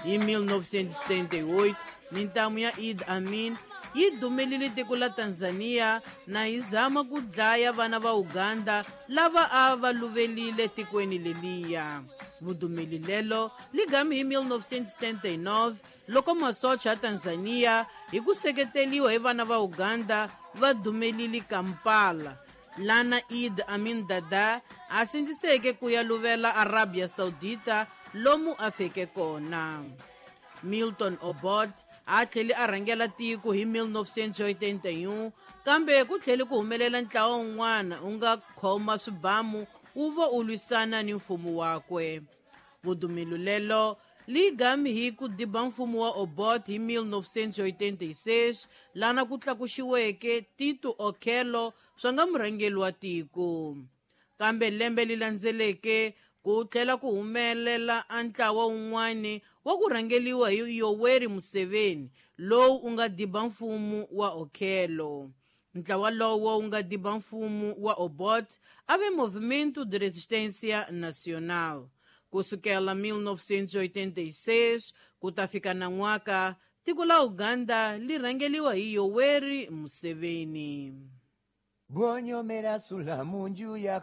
Hi 1978 mintamu ya Idi Amin yi dumelile tiko la Tanzania na yi zama ku dlaya vana va Uganda lava a va luvelile tikweni leliya. Vudumeli lelo li gami hi 1979 loko masocha ya Tanzania hi ku seketeliwa hi vana va Uganda va dumelile Kampala, lana Idi Amin Dada a sindziseke ku ya luvela Arabia Saudita lomu a feke kona. Milton Obote a tlhele a rhangela tiko hi 1981, kambe ku tlhele ku humelela ntlawa wun'wana wu nga khoma swibamu wu va u lwisana ni mfumo wakwe. Vudumelo lelo li gami hi ku diba mfumo wa Obote hi 1986, lana ku tlakuxiweke Tito Okello swa nga murhangeri wa tiko. Kambe lembe li landzeleke ku tlhela ku humelela a ntlawa wun'wani wa ku rhangeliwa hi Yoweri Museveni lowu u nga diba mfumo wa Okello. Ntlawa lowo wu nga diba mfumo wa Obote a ve Movimento de Resistência Nacional. Kusukela 1986 ku ta fika nan'waka, tiko la Uganda li rhangeliwa hi Yoweri Museveni. Bwonyomera sula munju ya.